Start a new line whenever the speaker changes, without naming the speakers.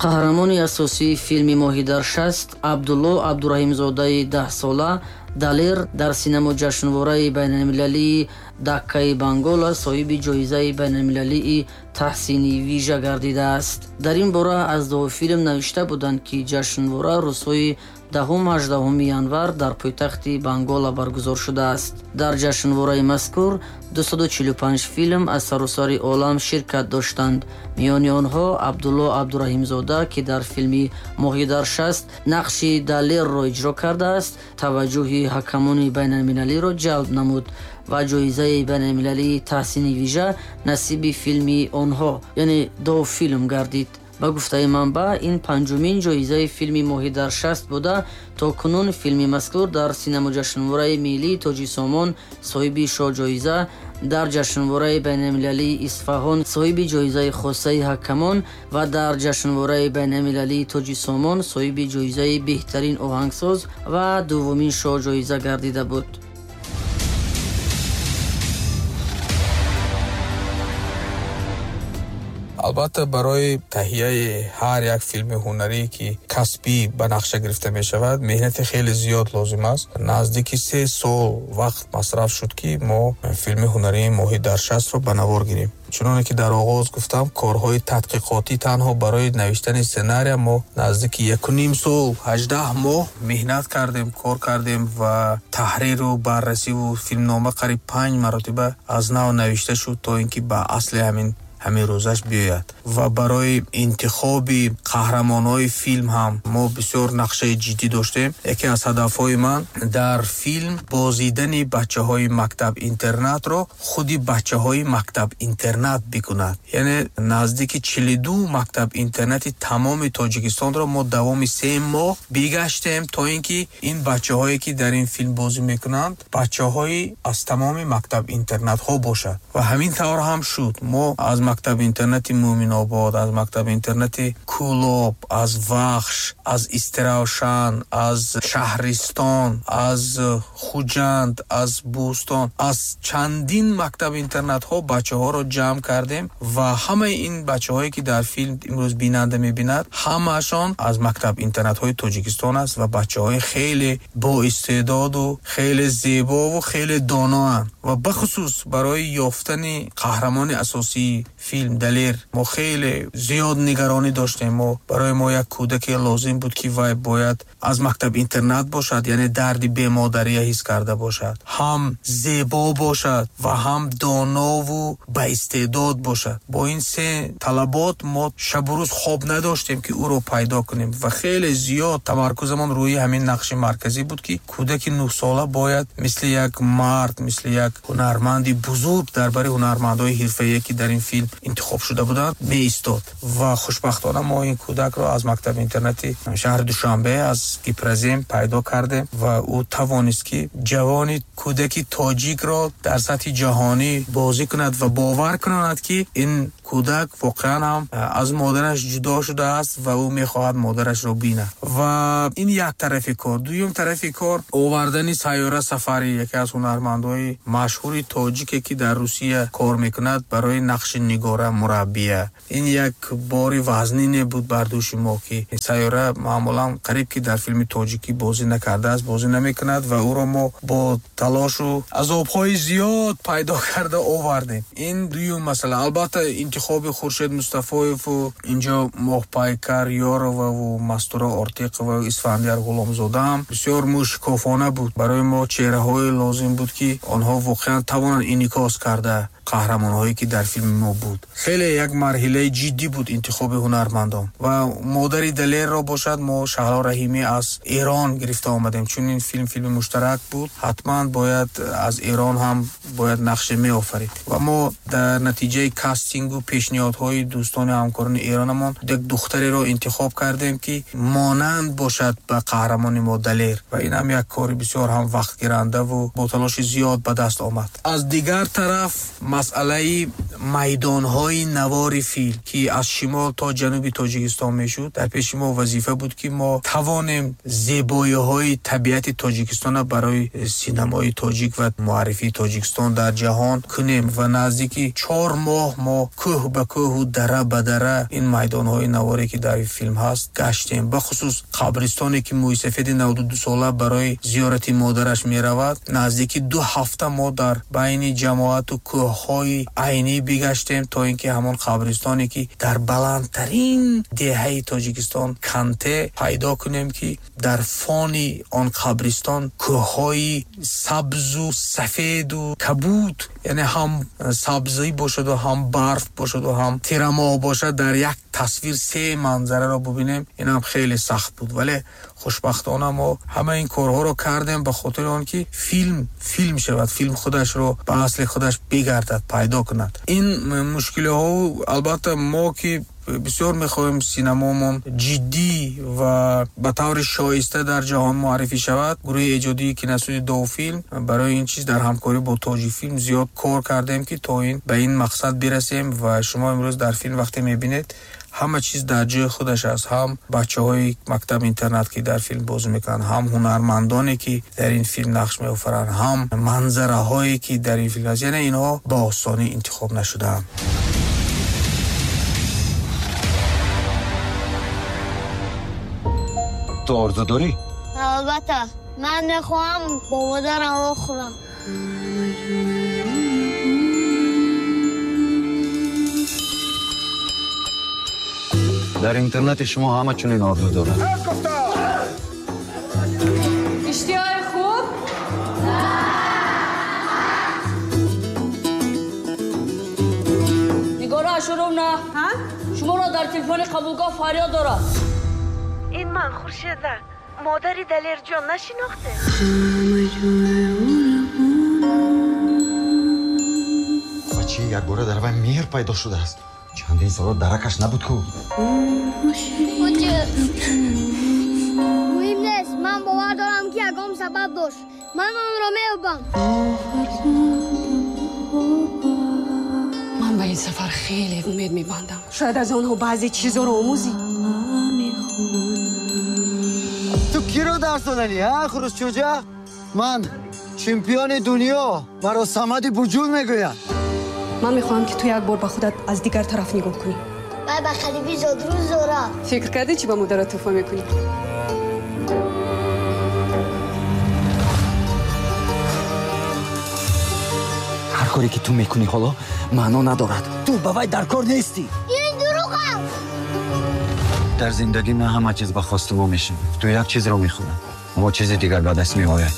Қаҳрамони асосии филми «Моҳӣ дар шаст» Абдулло Абдураҳимзодаи 10-сола Далер дар синамоҷашнвораи байналмилалии Даккаи Бангола соҳиби ҷоизаи байналмилалии таҳсини вижа гардидааст. Дар ин бора аз Довфилм навишта буданд, ки ҷашнвора рӯзҳои 10-18 январ дар пойтахти Бангола баргузор шудааст. Дар ҷашнвораи мазкур 245 филм аз саросари олам ширкат доштанд. Миёни онҳо Абдулло Абдураҳимзода, ки дар филми «Моҳӣ дар шаст» нақши Далерро иҷро кардааст, таваҷҷӯҳи ҳакамони байналмилалиро ҷалб намуд ва ҷоизаи байналмилалии таҳсини вижа насиби филми онҳо, яъне Довфилм, гардид. Ба гуфтаи манбаъ, ин панҷумин ҷоизаи филми «Моҳӣ дар шаст» буда, то кунун филми мазкур дар синамоҷашнвораи миллии Тоҷисомон соҳиби шоҳҷоиза, дар ҷашнвораи байналмилалии Исфаҳон соҳиби ҷоизаи хосаи ҳакамон ва дар ҷашнвораи байналмилалии Тоҷисомон соҳиби ҷоизаи беҳтарин оҳангсоз ва дуввумин шоҳҷоиза гардида буд.
Албатта, барои таҳияи ҳар як филми ҳунарӣ, ки касбӣ ба нақша гирифта мешавад, меҳнати хеле зиёд лозим аст. Наздики 3 сол вақт масраф шуд, ки мо филми ҳунарии «Моҳӣ дар шастро» ба навор гирем. Чуноне ки дар оғоз гуфтам, корҳои тадқиқотӣ танҳо барои навиштани сценария мо наздики 1,5 сол, 18 моҳ меҳнат кардем, кор кардем ва таҳриру баррасиву филмнома қариб панҷ маротиба аз нав навишта шуд, то ин ки ба асли ҳамин рӯзаш биёяд. Ва барои интихоби қаҳрамонҳои филм ҳам мо бисёр нақшаи ҷиддӣ доштем. Яке аз ҳадафҳои ман дар филм бозидани бачаҳои мактаб интернатро худи бачаҳои мактаб интернат бикунад. Яъне наздики 42 мактаб интернати тамоми Тоҷикистонро мо давоми 3 моҳ бигаштем, то ин ки ин бачаҳое, ки дар ин филм бозӣ мекунанд, бачаҳои аз тамоми мактаб интернатҳо бошад. Ва ҳамин тавр ҳам шуд. Мо аз мактаби интернати Муъминобод, аз мактаби интернати Кӯлоб, аз Вахш, аз Истиравшан, аз Шаҳристон, аз Хуҷанд, аз Бӯстон, аз чандин мактаби интернатҳо бачаҳоро ҷамъ кардем ва ҳамаи ин бачаҳое, ки дар филм имрӯз бинанда мебинад, ҳамаашон аз мактаб интернатҳои Тоҷикистон аст ва бачаҳои хеле боистеъдоду хеле зебову хеле доноанд. Ва бахусус барои ёфтани қаҳрамони асосии филм Далер мо хеле зиёд нигаронӣ доштем. Мо барои мо як кӯдаке лозим буд, ки вай бояд аз мактаб интернат бошад, яъне дарди бемодария ҳис карда бошад, ҳам зебо бошад ва ҳам донову баистеъдод бошад. Бо ин се талабот мо шабу рӯз хоб надоштем, ки ӯро пайдо кунем ва хеле зиёд тамаркузамон рӯи ҳамин нақши марказӣ буд, ки кӯдаки 9-сола бояд мисли як мард, мисли як ҳунарманди бузург дар бари ҳунармандҳои ҳирфаие, ки дар ин филм интихоб шуда буданд, меистод. Ва хушбахтона мо ин кӯдакро аз мактаби интернати шаҳри Душанбе, аз Гипрозем пайдо кардем ва ӯ тавонист, ки ҷавони кӯдаки тоҷикро дар сатҳи ҷаҳонӣ бозӣ кунад ва бовар кунад, ки ин кӯдак воқеан ҳам аз модараш ҷудо шудааст ва ӯ мехоҳад модарашро бинад. Ва ин як тарафи кор. Дуюм тарафи кор овардани Сайёра Сафарӣ, яке аз ҳунармандҳои машҳури тоҷике, ки дар Русия кор мекунад, барои нақши Нигора мураббия. Ин як бори вазнине буд бар дӯши мо, ки Сайёра маъмулан қариб ки дар филми тоҷикӣ бозӣ накардааст, бозӣ намекунад ва ӯро мо бо талошу азобҳои зиёд пайдо карда овардем. Ин дуюм масъала. Албатта, интихоби Хуршед Мустафоеву инҷо Моҳпайкар Ёроваву Мастура Ортиқова, Исфандияр Ғуломзодаам бисёр мушкофона буд. Барои мо чеҳраҳое лозим буд, ки онҳо воқеан тавонанд инъикос карда қаҳрамонҳое, ки дар филми мо буд. Хеле як марҳилаи ҷиддӣ буд интихоби ҳунармандон. Ва модари Далерро бошад, мо Шаҳло Раҳимӣ аз Эрон гирифта омадем, чун ин филм филми муштарак буд, ҳатман бояд аз Эрон ҳам бояд нақше меофарид. Ва мо дар натиҷаи кастингу пешниҳодҳои дӯстони ҳамкорони эронамон як духтареро интихоб кардем, ки монанд бошад ба қаҳрамони мо Далер. Ва ин ҳам як кори бисёр ҳам вақтгирандаву бо талоши зиёд ба даст омад. Аз дигар тараф. Масъалаи майдонҳои навори филм, ки аз шимол то ҷануби Тоҷикистон мешуд, дар пеши мо вазифа буд, ки мо тавонем зебоиҳои табиати Тоҷикистонро барои синамои тоҷик ва муаррифии Тоҷикистон дар ҷаҳон кунем ва наздики 4 моҳ мо кӯҳ ба кӯҳу дара ба дара ин майдонҳои наворе, ки дар филм ҳаст, гаштем. Бахусус қабристоне, ки мӯйсафеди 92 сола барои зиёрати модараш меравад, наздики 2 ҳафта мо дар байни ҷамоату кӯҳҳои Айнӣ бигаштем, то ин ки ҳамон қабристоне, ки дар баландтарин деҳаи Тоҷикистон Канте, пайдо кунем, ки дар фони он қабристон кӯҳҳои сабзу сафеду кабуд, яъне ҳам сабзӣ бошаду, ҳам барф бошаду, ҳам тирамоҳ бошад, дар як тасвир се манзараро бубинем. Инам хеле сахт буд, вале хушбахтона мо ҳама ин корҳоро кардем ба хотири он ки филм филм шавад, филм худашро ба асли худаш бигардад, пайдо кунад. Ин мушкилиҳо, албатта, мо ки бисёр мехоҳем синамомон ҷиддӣ ва ба таври шоиста дар ҷаҳон муаррифӣ шавад, гурӯҳи эҷодии киностудияи Довфилм барои ин чиз дар ҳамкорӣ бо Тоҷикфилм зиёд кор кардем, ки то ин ба ин мақсад бирасем. Ва шумо имрӯз дар филм вақте мебинед, ҳама чиз дар ҷои худаш аст: ҳам бачаҳои мактаб интернат, ки дар филм бозӣ мекунанд, ҳам ҳунармандоне, ки дар ин филм нақш меофаранд, ҳам манзараҳое, ки дар ин филм аст. Яъне инҳо ба осонӣ интихоб нашудаанд.
Ту орзу дорӣ?
Албатта, ман мехоҳам бо модарам вохӯрам.
Дар интернати шумо ҳама чунин орзу дорад.
Иштиҳои хуб.
Нигора Ашуровна, шуморо дар телефони қабулгоҳ фарёд дорад.
Ин ман, Хуршеда, модари Далерҷон, нашинохте?
Ва чӣ якбора дар вай меҳр пайдо шудааст? Чандин соло даракаш набуд ку.
Муҳим нест, ман бовар дорам, ки ягон сабаб дошт. Ман онро меёбам.
Ман ба ин сафар хеле умед мебандам. Шояд аз онҳо баъзе чизоро омӯзӣ.
Ту киро дарс додани, ҳа, хурӯсчӯҷа? Ман чемпиони дунё, маро Самади Буҷул мегӯянд.
Ман мехоҳам, ки ту як бор ба худат аз дигар тараф нигоҳ кунӣ.
Вай ба қарибӣ зодрӯз дорад.
Фикр кардӣ, чӣ ба модарат тӯҳфа мекунӣ?
Ҳар коре, ки ту мекунӣ, ҳоло маъно надорад.
Ту ба вай дар кор нестӣ.
Ин дурӯғ аст.
Дар зиндагӣ на ҳама чиз ба хости мо мешавад. Ту як чизро мехӯрад, мо чизи дигар ба даст меояд.